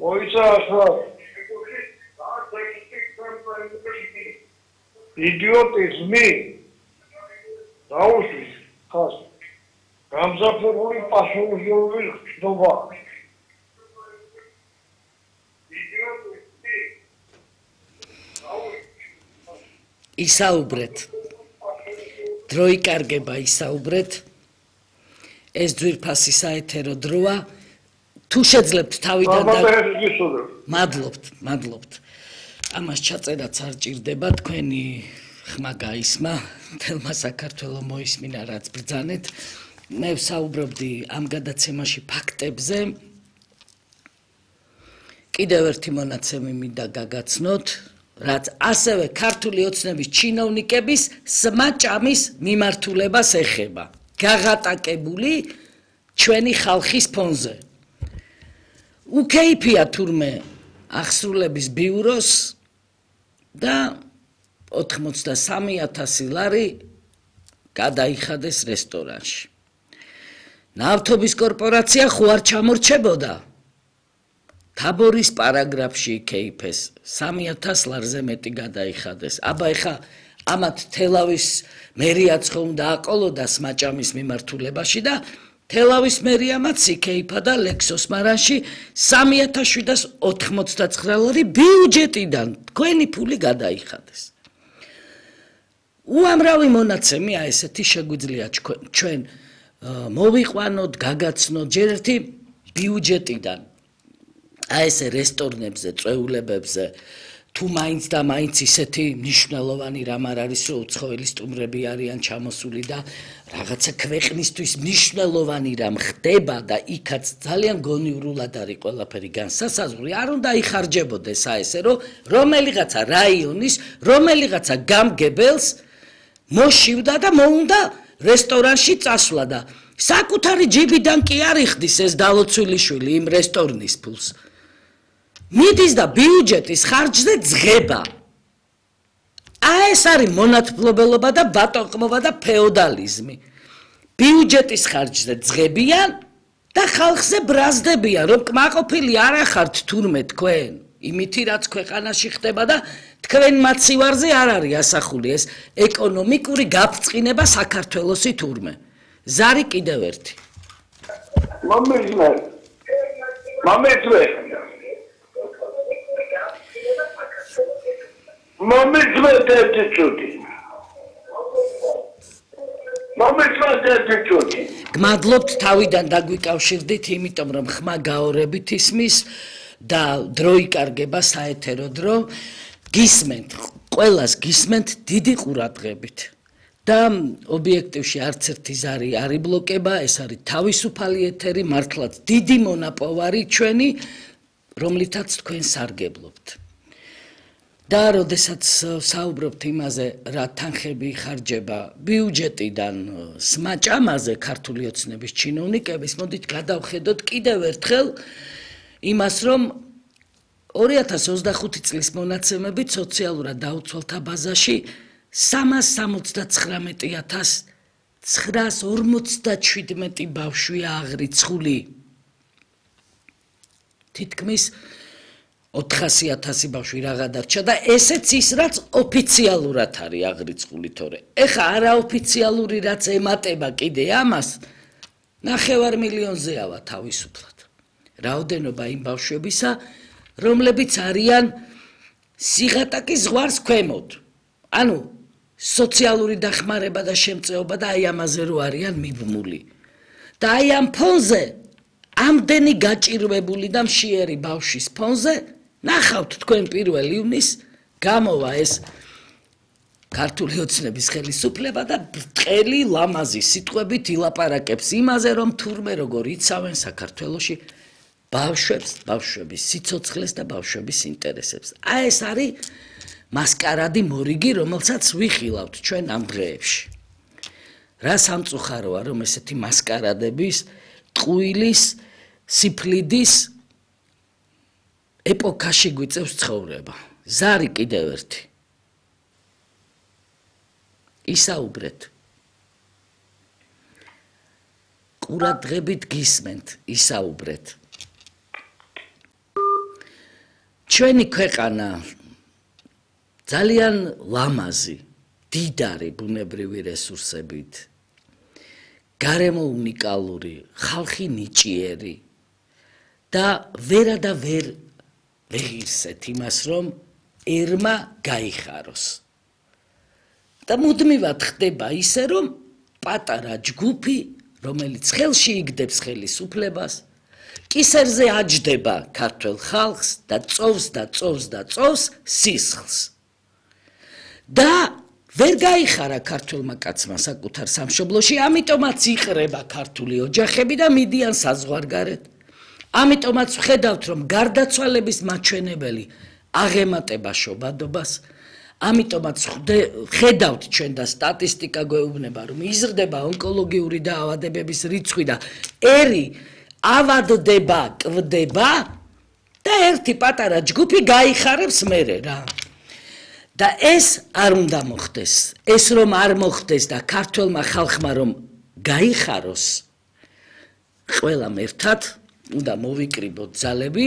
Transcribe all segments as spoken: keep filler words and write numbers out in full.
მოიცახა იდიოტიზმი დაუშვით ხას გამზაფებული პასუხისმგებლობის ხსნობა ისაუბრეთ დრო იკარგება ისაუბრეთ ეს ძვირფასი საეთერო დროა თუ შეძლებთ თავიდან და მადლობთ მადლობთ ამას ჩაწერაც არ ჭირდება თქვენი ხმა გაისმა თელმა საქართველოს მოისმინა რაც ბრძანეთ მე ვსაუბრობდი ამ გადაცემაში ფაქტებზე კიდევ ერთი მონაცემი მინდა გაგაცნოთ რაც ასევე ქართული ოცნების ჩინოვნიკების სმაჭამის მიმართულებას ეხება გაღატაკებული ჩვენი ხალხის ფონზე უკეიფია თურმე აღსრულების ბიუროს და ოთხმოცდასამი ათასი ლარი გადაიხადეს რესტორანში ნავთობის კორპორაცია ხო არ ჩამორჩებოდა თაბორის პარაგრაფში იკეიფეს სამი ათას ლარზე მეტი გადაიხადეს აბა ეხა ამათ თელავის მერიაც ხო უნდა აყოლოდა სმაჭამის მიმართულებაში და თელავის მერიამაც იკეიფა და ლექსოს მარანში სამი ათას შვიდას ოთხმოცდაცხრა ლარი ბიუჯეტიდან თქვენი ფული გადაიხადეს უამრავი მონაცემია ესეთი შეგვიძლია ჩვენ მოვიყვანოთ გაგაცნოთ ჯერ ერთი ბიუჯეტიდან აი ესე რესტორნებზე წვეულებებზე თუ მაინც და მაინც ისეთი მნიშვნელოვანი რამ არ არის რომ უცხოელი სტუმრები არიან ჩამოსული და რაღაცა ქვეყნისთვის მნიშვნელოვანი რამ ხდება და იქაც ძალიან გონივრულად არის ყველაფერი განსასაზღვრი არ უნდა იხარჯებოდეს აი ესე რომ რომელიღაცა რაიონის რომელიღაცა გამგებელს მოშივდა და მოუნდა რესტორანში წასვლა და საკუთარი ჯიბიდან კი არ იხდის ეს დალოცვილი შვილი იმ რესტორნის ფულს მიდის და ბიუჯეტის ხარჯზე ძღება აი ეს არის მონათმფლობელობა და ბატონყმობა და ფეოდალიზმი ბიუჯეტის ხარჯზე ძღებიან და ხალხზე ბრაზდებიან რომ კმაყოფილი არ ახართ თურმე თქვენ იმითი რაც ქვეყანაში ხდება და თქვენ მაცივარზე არ არის ასახული ეს ეკონომიკური გაფრწყინება საქართველოსი თურმე ზარი კიდევ ერთი მომეძმე მომეძმე მომეძმე ერთი წუთი მომეძმე ერთი წუთი გმადლობთ თავიდან დაგვიკავშირდით იმიტომ რომ ხმა გაორებით ისმის და დრო იკარგება საეთერო დრო გისმენთ ყველას გისმენთ დიდი ყურადღებით და ობიექტივში არც ერთი ზარი არ იბლოკება ეს არის თავისუფალი ეთერი მართლაც დიდი მონაპოვარი ჩვენი რომლითაც თქვენ სარგებლობთ და როდესაც საუბრობთ იმაზე რა თანხები იხარჯება ბიუჯეტიდან სმაჭამაზე ქართული ოცნების ჩინოვნიკების მოდით გადავხედოთ კიდევ ერთხელ იმას რომ ორი ათას ოცდახუთი წლის მონაცემებით სოციალურად დაუცველთა ბაზაში სამას სამოცდაცხრამეტი ათას ცხრაას ორმოცდაშვიდმეტი ბავშვია აღრიცხული თითქმის ოთხასი ათასი ბავშვი რაღა დარჩა და ესეც ის რაც ოფიციალურად არის აღრიცხული თორე ეხა არაოფიციალური რაც ემატება კიდე ამას ნახევარ მილიონზეავა თავისუფლად რაოდენობა იმ ბავშვებისა რომლებიც არიან სიღატაკის ზღვარს ქვემოთ ანუ სოციალური დახმარება და შემწეობა და აი ამაზე რო არიან მიბმული და აი ამ ფონზე ამდენი გაჭირვებული და მშიერი ბავშვის ფონზე ნახავთ თქვენ პირველ ივნის გამოვა ეს ქართული ოცნების ხელისუფლება და ბრტყელი ლამაზი სიტყვებით ილაპარაკებს იმაზე რომ თურმე როგორ იცავენ საქართველოში ბავშვებს ბავშვების სიცოცხლეს და ბავშვების ინტერესებს აი ეს არის მასკარადი მორიგი რომელსაც ვიხილავთ ჩვენ ამ დღეებში რა სამწუხაროა რომ ესეთი მასკარადების ტყუილის სიფლიდის ეპოქაში გვიწევს ცხოვრება ზარი კიდევ ერთი ისაუბრეთ ყურადღებით გისმენთ ისაუბრეთ ჩვენი ქვეყანა ძალიან ლამაზი, დიდარი ბუნებრივი რესურსებით, გარემო უნიკალური, ხალხი ნიჭიერი და ვერა და ვერ ვეღირსეთ იმას, რომ ერმა გაიხაროს. და მუდმივად ხდება ისე, რომ პატარა ჯგუფი, რომელიც ხელში იგდებს ხელისუფლებას, კისერზე აჯდება ქართველ ხალხს და წოვს და წოვს და წოვს სისხლს. და ვერ გაიხარა ქართველმა კაცმა საკუთარ სამშობლოში, ამიტომაც იყრება ქართული ოჯახები და მიდიან საზღვარგარეთ. ამიტომაც ვხედავთ, რომ გარდაცვალების მაჩვენებელი აღემატება შობადობას, ამიტომაც ხედავთ ჩვენ და სტატისტიკა გვეუბნება, რომ იზრდება ონკოლოგიური დაავადებების რიცხვი და ერი ავადდება, კვდება და ერთი პატარა ჯგუფი გაიხარებს მერე რა. და ეს არ უნდა მოხდეს, ეს რომ არ მოხდეს და ქართველმა ხალხმა რომ გაიხაროს, ყველამ ერთად უნდა მოვიკრიბოთ ძალები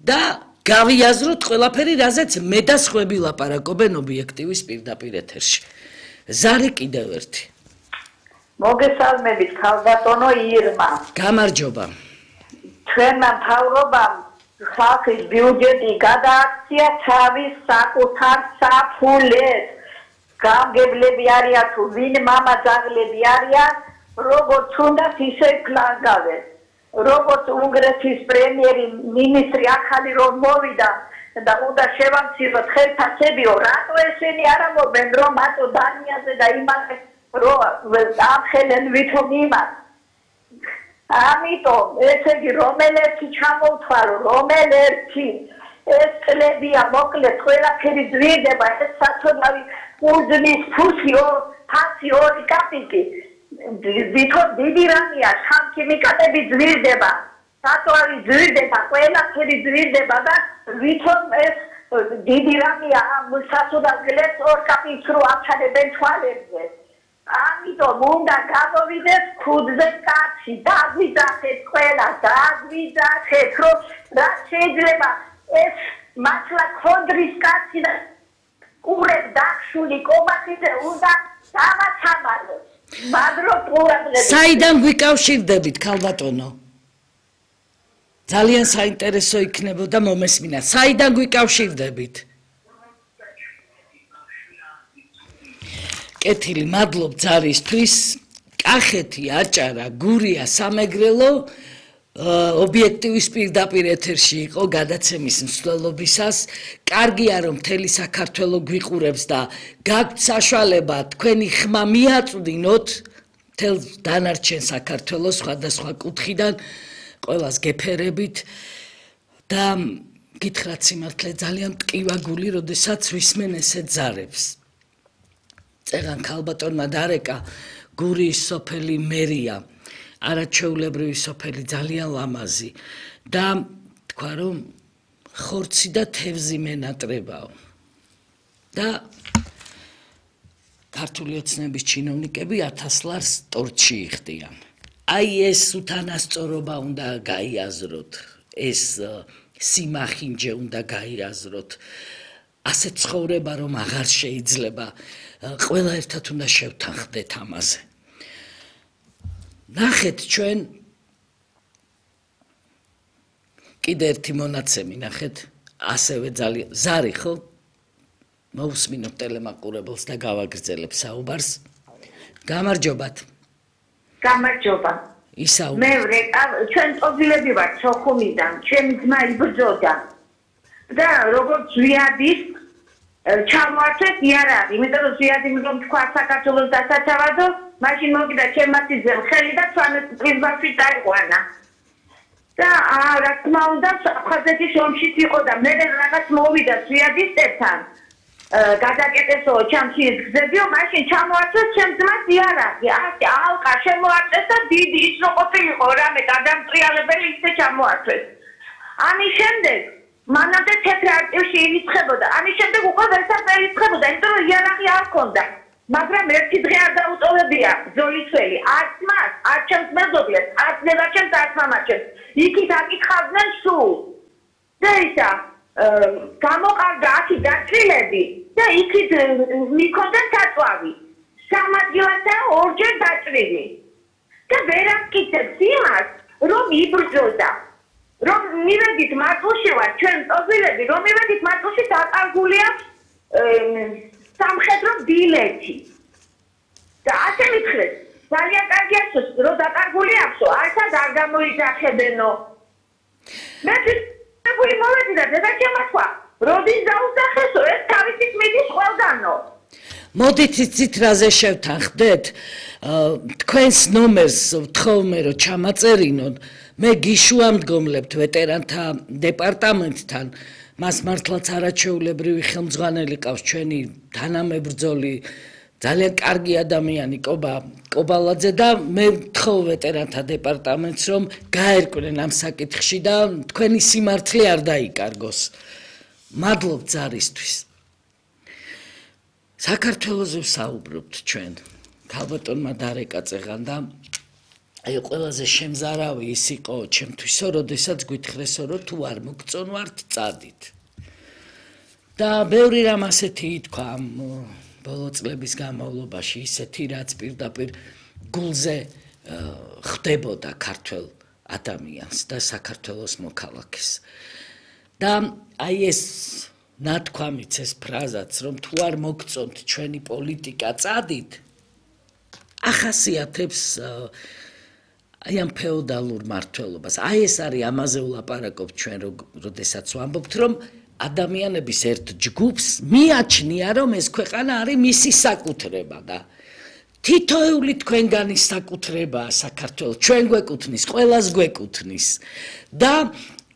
და გავიაზროთ ყველაფერი, რაზეც მე და სხვები ლაპარაკობენ ობიექტივის პირდაპირ ეთერში. ზარი კიდევ ერთი. მოგესალმებით ქალბატონო ირმა. გამარჯობა. ჩვენმა მთავრობამ ხალხის ბიუჯეტი გადააქცია თავის საკუთარ საფულეს. გამგებლები არიან თუ ვინ მამა ძაღლები არიან, როგორც უნდათ ისე კლანგავენ. როგორც უნგრეთის პრემიერი მინისტრი ახალი რომ მოვიდა და უნდა შევამციროთ ხელფასებიო, რატო ესენი არ ამბობენ, რომ მათო დანიაზე და იმაზე რომ ამხელენ ვითომ იმას. ამიტომ ესე იგი რომელერთი ჩამოვთვალო, რომელერთი ეს წლებია მოკლედ ყველაფერი ძვირდება, ეს საწოდავი უძმის ფუსი ფასი ორი კაპიკი. ვითომ დიდი რამეა, სამქიმიკატები ძვირდება, საწვავი ძვირდება, ყველაფერი ძვირდება და ვითომ ეს დიდი რამეა ამ საწოდავს ორ კაპიკს რო აჩადებენ თვალებზე. ამიტომ უნდა გამოვიდეს ქუდზე კაცი, დაგვიძახეთ ყველა, დაგვიძახეთ, რომ რა შეიძლება ეს მართლა ქონდრის კაცი და ყურებ დახშული კომახიზე უნდა დავაცამალოს. საიდან გვიკავშირდებით ქალბატონო? ძალიან საინტერესო იქნებოდა მომესმინა. საიდან გვიკავშირდებით? კეთილი, მადლობ ძალისთვის. კახეთი, აჭარა, გურია, სამეგრელო ობიექტივის პირდაპირ ეთერში იყო გადაცემის მსვლელობისას. კარგია რომ მთელი საქართველო გვიყურებს და გაქვთ საშუალება თქვენი ხმა მიაწვდინოთ მთელ დანარჩენ საქართველოს სხვადასხვა კუთხიდან, ყველას გეფერებით და გითხრათ სიმართლე ძალიან მტკივა გული, როდესაც ვისმენ ესეთ ზარებს. წერან ქალბატონმა დარეკა გურიის სოფელი მერია, არაჩვეულებრივი სოფელი, ძალიან ლამაზი და თქვა რომ ხორცი და თევზი მენატრებაო და ქართული ოცნების ჩინოვნიკები ათას ლარს ტორტში იხდიან. აი ეს უთანასწორობა უნდა გაიაზროთ, ეს სიმახინჯე უნდა გაიაზროთ, ასე ცხოვრება რომ აღარ შეიძლება, ყველა ერთად უნდა შევთანხმდეთ ამაზე. ნახეთ ჩვენ კიდე ერთი მონაცემი ნახეთ, ასევე ძალიან ზარი ხო? მოვუსმინოთ ტელემაყურებელს და გავაგრძელებ საუბარს. გამარჯობათ. გამარჯობა. ისაუბარ. მე ვრეკა, ჩვენ ტობილები ვართ სოხუმიდან, ჩემი ძმა იბრძოდა. და როგორც ზვიადის ჩამოართვეს იარაღი, იმიტომ რომ ზვიადი რომ თქვა საქართველოს დასაცავადო, მაშინ მოვიდა ჩემმათიძე ხელი და პრიზმაში დაიყვანა. და რა თქმა უნდა, აფხაზეთის ომშიც იყო და მე რაღაც მოვიდა ზვიადისტებთან. გადაკეტესო ჩამჩის გზებიო, მაშინ ჩამოართვეს ჩემ ძმას იარაღი. ასე ალყა შემოაწეს და დიდი ის რო ყოფილიყო რამე გადამტრიალებელი ისე ჩამოართვეს. ამის შემდეგ მანამდე თეთრ არტივში ირიცხებოდა. ამის შემდეგ უკვე ვერცად ვერ ირიცხებოდა, იმიტომ რომ იარაღი არ ჰქონდა. მაგრამ ერთი დღე არ დაუტოვებია ზოლისველი, არც მას, არც ჩემს მეზობლებს, არც ნებაჩემს, არც მამაჩემს. იქით აკითხავდნენ სულ. და ისა, გამოყავდა აქ დაჭრილები და იქით მიქონდა საწვავი. სამადგილათა ორჯერ დაჭრილი. და ვერ ამტკიცებს იმას, რომ იბრძოდა. რომ მივედით მატლში ვარ, ჩვენ ტოზილები, რომ მივედით მატლში დაკარგული აქვს სამხედრო ბილეთი. და ასე მითხრეს, ძალიან კარგი აქვს, რომ დაკარგული აქვს, არცად არ გამოიძახებენო. მე ვიფიქრე მოვედი და დედაჩემმა თქვა, როდის დაუსახესო, ეს თავისით მიდის ყველგანო. მოდით იცით რაზე შევთანხმდეთ? თქვენს ნომერს ვთხოვმე რომ ჩამაწერინოთ. მე გიშუამდგომლებთ ვეტერანთა დეპარტამენტთან. მას მართლაც არაჩვეულებრივი ხელმძღვანელი ყავს ჩვენი თანამებრძოლი ძალიან კარგი ადამიანი კობა კობალაძე და მე ვთხოვ ვეტერანთა დეპარტამენტს რომ გაერკვნენ ამ საკითხში და თქვენი სიმართლე არ დაიკარგოს. მადლობთ ზარისთვის. საქართველოზე ვსაუბრობთ ჩვენ. ქალბატონმა დარეკა წეღან და აი ყველაზე შემზარავი ის იყო ჩემთვისო, როდესაც გვითხრესო რომ თუ არ მოგწონვართ წადით. და ბევრი რამ ასეთი ითქვა ამ ბოლო წლების განმავლობაში, ისეთი რაც პირდაპირ გულზე ხდებოდა ქართველ ადამიანს და საქართველოს მოქალაქეს. და აი ეს ნათქვამიც ეს ფრაზაც რომ თუ არ მოგწონთ ჩვენი პოლიტიკა წადით ახასიათებს აი ამ ფეოდალურ მართლობას. აი ეს არის ამაზე ვლაპარაკობ ჩვენ როდესაც ვამბობთ რომ ადამიანების ერთ ჯგუფს მიაჩნია რომ ეს ქვეყანა არის მისი საკუთრება და თითოეული თქვენგანი საკუთრებაა საქართველო. ჩვენ გვეკუთვნის, ყველას გვეკუთვნის და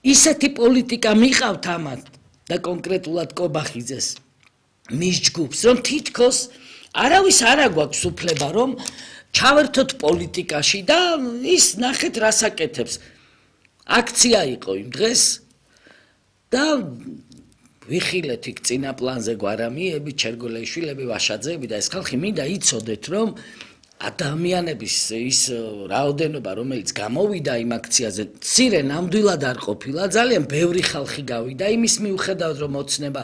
ისეთი პოლიტიკა მიყავთ ამათ და კონკრეტულად კობახიძეს მის ჯგუფს რომ თითქოს არავის არ აგვაქვს უფლება რომ ჩავერთოთ პოლიტიკაში და ის ნახეთ რას აკეთებს. აქცია იყო იმ დღეს და ვიხილეთ იქ წინა პლანზე გვარამიები, ჩერგოლეიშვილები, ვაშაძეები და ეს ხალხი მინდა იცოდეთ რომ ადამიანების ის რაოდენობა რომელიც გამოვიდა იმ აქციაზე მცირე ნამდვილად არ ყოფილა, ძალიან ბევრი ხალხი გავიდა იმის მიუხედავად რომ ოცნება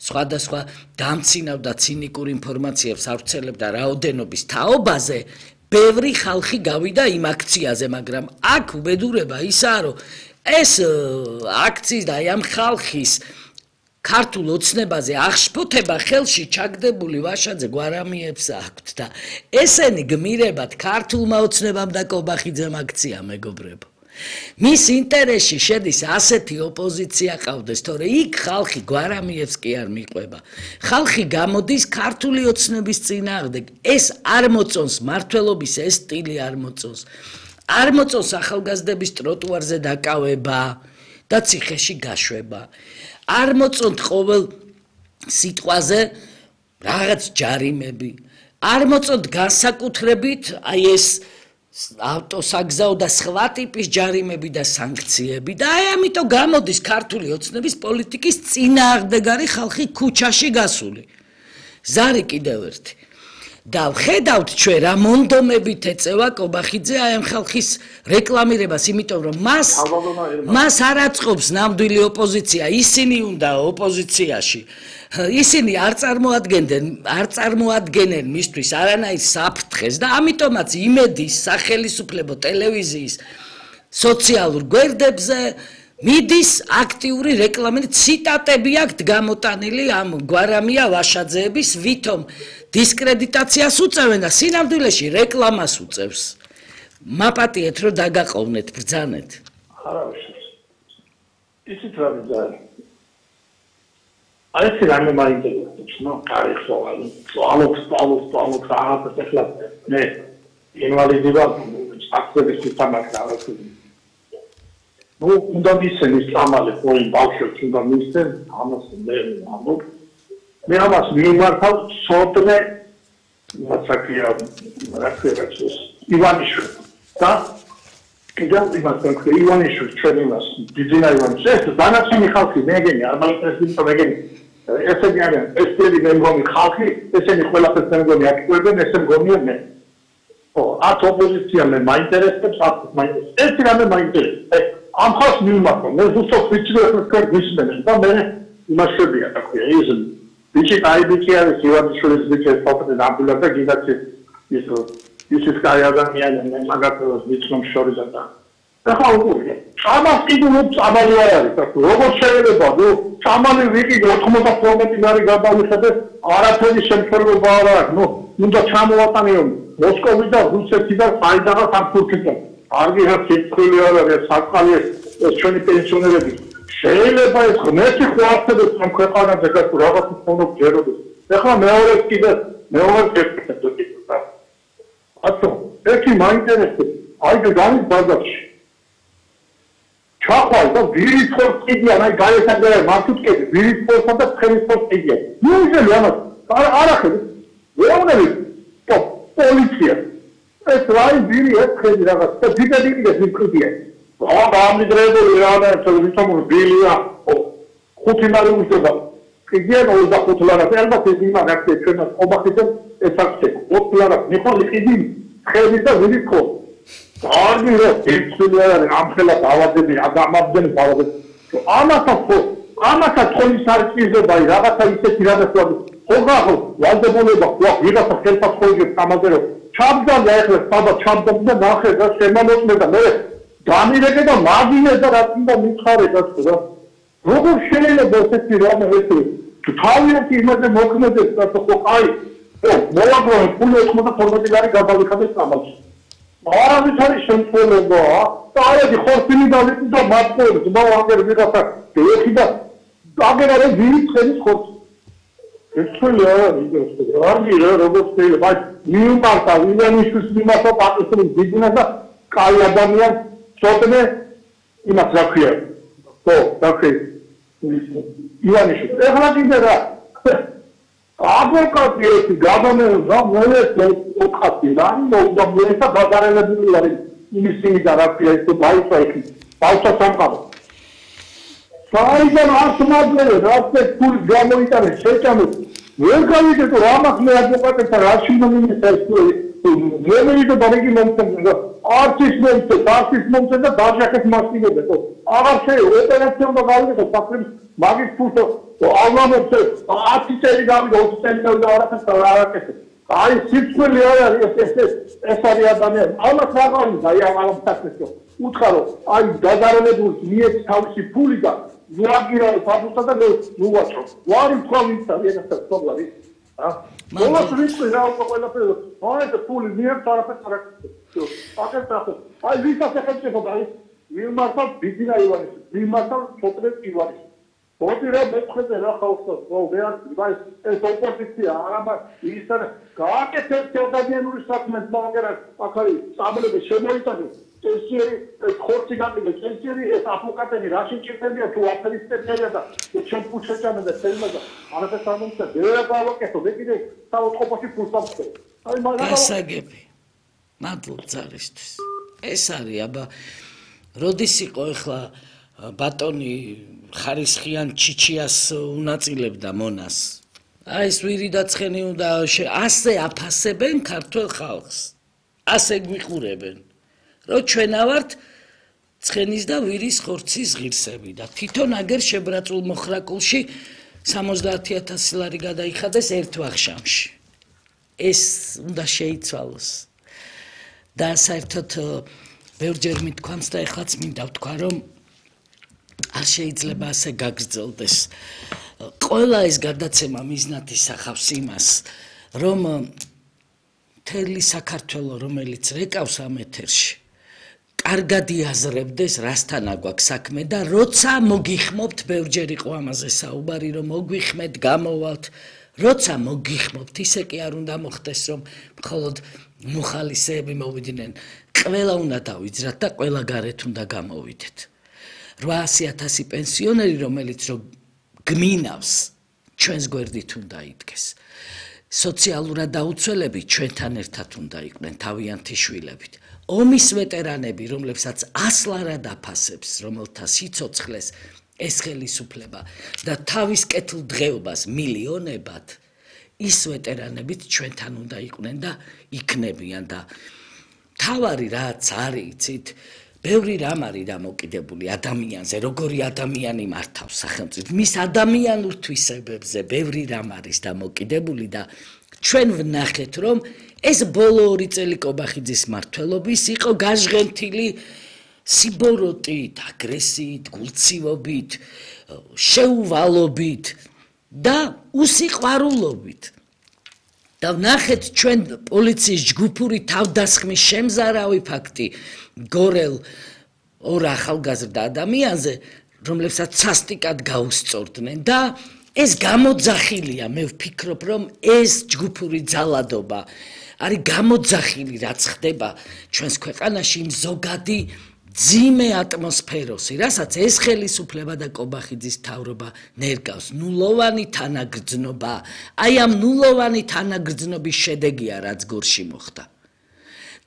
სხვადასხვა დამცინავ და ცინიკურ ინფორმაციებს ავრცელებდა რაოდენობის თაობაზე, ბევრი ხალხი გავიდა იმ აქციაზე, მაგრამ აქ უბედურება ისაა რომ ეს აქციის და ამ ხალხის ქართულ ოცნებაზე აღშფოთება ხელში ჩაგდებული ვაშაძე გვარამიებს აქვთ და ესენი გმირებად ქართულმა ოცნებამ და კობახიძემ აქცია მეგობრებო. მის ინტერესში შედის ასეთი ოპოზიცია ყავდეს, თორე იქ ხალხი გვარამიებს კი არ მიყვება. ხალხი გამოდის ქართული ოცნების წინააღმდეგ. ეს არ მოწონს მართლობის ეს სტილი არ მოწონს. არ მოწონს ახალგაზრდების ტროტუარზე დაკავება და ციხეში გაშვება. არ მოწონთ ყოველ სიტყვაზე რაღაც ჯარიმები. არ მოწონთ განსაკუთრებით აი ეს ავტოსაგზაო და სხვა ტიპის ჯარიმები და სანქციები და აი ამიტომ გამოდის ქართული ოცნების პოლიტიკის წინააღმდეგარი ხალხი ქუჩაში გასული. ზარი კიდევ ერთი. და ვხედავთ ჩვენ რა მონდომებით ეწევა კობახიძე აი ამ ხალხის რეკლამირებას, იმიტომ რომ მას მას არ აწყობს ნამდვილი ოპოზიცია, ისინი უნდა ოპოზიციაში. ისინი არ წარმოადგენდნენ, არ წარმოადგენენ მისთვის არანაირ საფრთხეს და ამიტომაც იმედის სახელისუფლებო ტელევიზიის სოციალურ გვერდებზე მიდის აქტიური რეკლამა, ციტატები აქვს გამოტანილი ამ გვარამია ვაშაძეების, ვითომ დისკრედიტაციას უწევენ და სინამდვილეში რეკლამას უწევს. მაპატიეთ რომ დაგაყოვნეთ, ბრძანეთ. არავის. ისიც რა ვიძარი. აი ეს რამე მაინტერესებს, ნო, კარი სვალი. სვალობს, სვალობს, სვალობს, აღარ ახლა მე ინვალიდი ვარ, აქტივის თამაკრავი. ნუ უნდა მისცემის წამალი ყოველ ბავშვებს უნდა მისცემ, ამას მე ამბობ. მე ამას მიმართავ სოდნე მასაკია რაკეთებს ივანიშვილი და კიდევ იმას თქვი ივანიშვილი ჩვენ იმას ბიძინა ივანიშვილი ეს დანარჩენი ხალხი მეგენი არ მაინტერესებს მეგენი ესენი არიან ესენი მეგონი ხალხი ესენი ყველაფერს მეგონი აქტიურობენ ესე მგონია მე ო ათ ოპოზიცია მე მაინტერესებს ათ მაინტერესებს ეს რამე მაინტერესებს ამ ხალხს მიმართავ მე ზუსტად ვიცი რომ თქვენ გისმენთ და მე იმასებია და ქვია ის ბიჭი აი ბიჭი არის ივანიშვილის ბიჭი ფოტოზე დამბულა და გიგაც ის ის ის კაი ადამიანი მაგათოს ვიცნობ შორიზა და ახლა უკვე ამას კიდევ წამალი არ არის და როგორ შეიძლება ნუ წამალი ვიკი ოთხმოცდახმეტი მარი გადავიხადე არაფერი შემთხვევა არ აქვს ნუ უნდა ჩამოვატანიო მოსკოვი და რუსეთი და საიდანაც ამ თურქეთთან არგი რა სიტყვილი არ არის საკალი ეს ჩვენი პენსიონერები შეიძლება ეს ღმერთი ხო არსებობს ამ ქვეყანაზე გასულ რაღაც ფონდ ჯეროდეს ახლა მეორე კიდე მეორე კეთილი ათო ერთი მაინტერესებს აი და განის ბაზარში ჩახვალ და ვირის ხორცს კიდიან აი გაესაგერე მართუთკები ვირის ხორცსა და ცხენის ხორცს კიდიან ნუ იზელი ამას არ ახები ვეუბნები პოლიცია ეს რაი ვირი ეს ხედი რაღაც და დიდები კიდე ვიკრიბიან რა გამიდრებული რა და თვითონ ბილია ხუთი მარი უშდება კიდიან ოცდახუთი ლარას ალბათ ეს იმა გაქცე ჩვენ ობახიდან ეს აქცე ოთხ ლარას მიყოლი კიდი ხედი და ვირის ხორცს არგი რა ერთული არ არის ამ ხელა დავადები ადამიანები დავადები ამასაც ამასაც თოლის არ წიზდება აი რაღაცა ისეთი რაღაცა ხოღა ვალდებულება ხო ვიღაცა ხელფას ხოლმე გამაგერო ჩამძალდა ეხლა საბა ჩამძალდა და ნახე და შემამოწმე და მე დამირეკე და მაგინე და რა თქმა უნდა მითხარე და რა როგორ შეიძლება ესეთი რამე ეს თავიანთი იმაზე მოქმედებს და ხო აი ო მოვაგრო ფული ოთხმოცდახუთი ლარი გადავიხადე სამალში არავის არის შემთხვევა და არადი ხორცინი დავიწი და მარტოებს და აგერ ვიღაცა ეხი და აგერ არის ვირის ხედის ხორცი ეს ხელი არ არის ეს არგი რა როგორც შეიძლება აი მიუმართა ვინანიშვის მიმართა პატრონის ბიზნესს და კაი ადამიან ცოტნე იმას რა ქვია ხო რა ქვია ივანიშვილი ეხლა კიდე რა აბოლკატი ერთი გადამეულ და მოეცე ოთხი და მოვიდა მოეცა ბაზარელებული არის იმისი და რა ქვია ეს ბაიცა იქ ბაიცა სამყარო საიდან ასმადლე რაცე ფული გამოიტანე შეჭამე ვერ გავიგე თუ რა მაქვს მე აბოლკატებთან რა შემინისა ეს მემერი და ბარიგი მომწონდა არცის მომწონდა არცის მომწონდა და დაჟახეს მასწინებდა ხო აღარ შეიძლება ოპერაცია უნდა გავიგე საფრთხის მაგის ფულს ალამობთ ათი წელი გავიგე ოცი წელი და არაფერს არაკეთებ აი სიცხელი არ არის ეს ეს ეს არის ადამიანი ამას რაღაცა აი ამ საფრთხეს უთხარო აი დაზარალებულს მიეცი თავისი ფული და ზუაგირა ფაბუსა და ნუვაჭრო ვარი თქვა ვინც არის ეს პრობლემა ა მოლას რიცხვი რა უკვე ყველაფერი აი ეს ფული მიერ არაფერს არაკეთებ აკეთებ აი ვისაც ეხება აი მიმართავ ბიძინა ივანის მიმართავ ჩოტრეს ივანის მოდი რა მეწყეზე რა ხავსო ხო მე არ ვაი ეს ოპოზიცია არაბა ის არ გააკეთეთ ადამიანური საქმეს მაგერა ახალი წამლები შემოიტანე ტენსიერი ხორცი გაკეთე ტენსიერი ეს აფოკატები რა შეჭირდებია თუ აფერისტებია და ჩვენ ფუჩეჭამე და თელმაზა არაფერს არ მომწე ვერ გავაკეთო მე კიდე საოთხობაში ფულს ამხდე აი მაგალითად გასაგები მადლობ ძალისთვის ეს არის აბა როდის იყო ახლა ბატონი ხარისხიან ჩიჩიას უნაწილებდა მონას აი ეს ვირი და ცხენი უნდა ასე აფასებენ ქართულ ხალხს ასე გვიყურებენ რომ ჩვენა ვართ ცხენის და ვირის ხორცის ღირსები და თვითონ აგერ შებრაწულ მოხრაკულში სამოცდაათი ათასი ლარი გადაიხადეს ერთ ვახშამში ეს უნდა შეიცვალოს და საერთოდ ბევრჯერ მithქვამს და ეხლაც მინდა ვთქვა რომ არ შეიძლება ასე გაგრძელდეს ყველა ეს გადაცემა მიზნად ისახავს იმას რომ მთელი საქართველო რომელიც რეკავს ამ ეთერში კარგად იაზრებდეს რასთან აგვაქვს საქმე და როცა მოგიხმობთ ბევრჯერ იყო ამაზე საუბარი რომ მოგვიხმეთ გამოვალთ როცა მოგიხმობთ ისე კი არ უნდა მოხდეს რომ მხოლოდ მოხალისეები მოვიდნენ ყველა უნდა დავიძრათ და ყველა გარეთ უნდა გამოვიდეთ რვაასი ათასი პენსიონერი რომელიც რომ გმინავს ჩვენს გვერდით უნდა იდგეს სოციალურად დაუცველები ჩვენთან ერთად უნდა იყვნენ თავიანთი შვილებით ომის ვეტერანები რომლებსაც ასლარად აფასებს რომელთა სიცოცხლეს ეს ხელისუფლება და თავის კეთილდღეობას მილიონებად ის ვეტერანებიც ჩვენთან უნდა იყვნენ და იქნებიან და თავარი რაც არის იცით ბევრი რამ არის დამოკიდებული ადამიანზე, როგორი ადამიანი მართავს სახელმწიფოს, მის ადამიანურ თვისებებზე ბევრი რამ არის დამოკიდებული და ჩვენ ვნახეთ, რომ ეს ბოლო ორი წელი კობახიძის მმართველობის იყო გაჟღენთილი სიბოროტით, აგრესიით, გულცივობით, შეუვალობით და უსიყვარულობით. და ვნახეთ ჩვენ პოლიციის ჯგუფური თავდასხმის შემზარავი ფაქტი გორელ ორ ახალგაზრდა ადამიანზე, რომლებსაც სასტიკად გაუსწორდნენ და ეს გამოძახილია, მე ვფიქრობ, რომ ეს ჯგუფური ძალადობა არის გამოძახილი, რაც ხდება ჩვენს ქვეყანაში იმ ზოგადი ძიმე ატმოსფეროსი, რასაც ეს ხელისუფლება და კობახიძის მთავრობა ნერგავს, ნულოვანი თანაგრძნობა, აი ამ ნულოვანი თანაგრძნობის შედეგია, რაც გორში მოხდა.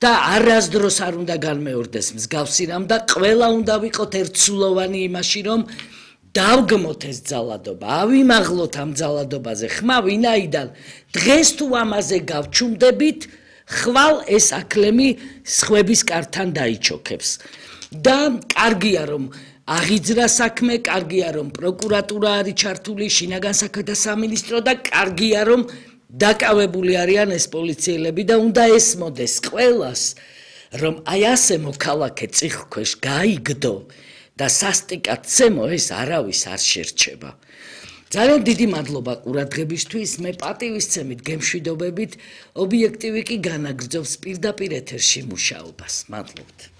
და არასდროს არ უნდა განმეორდეს მსგავსი რამ და ყველა უნდა ვიყოთ ერთსულოვანი იმაში, რომ დავგმოთ ეს ძალადობა, ავიმაღლოთ ამ ძალადობაზე ხმა, ვინაიდან დღეს თუ ამაზე გავჩუმდებით, ხვალ ეს აკლემი სხვების კართან დაიჩოქებს. და კარგია რომ აღიძრა საქმე, კარგია რომ პროკურატურა არის ჩართული, შინაგან საქმეთა სამინისტრო და კარგია რომ დაკავებული არიან ეს პოლიციელები და უნდა ესმოდეს ყველას, რომ აი ასე მოქალაქე წიხლქვეშ გაიგდო და სასტიკად ცემო ეს არავის არ შერჩება. ძალიან დიდი მადლობა ყურადღებისთვის, მე პატივისცემით გემშვიდობებით, ობიექტივი კი განაგრძობს პირდაპირ ეთერში მუშაობას. მადლობთ.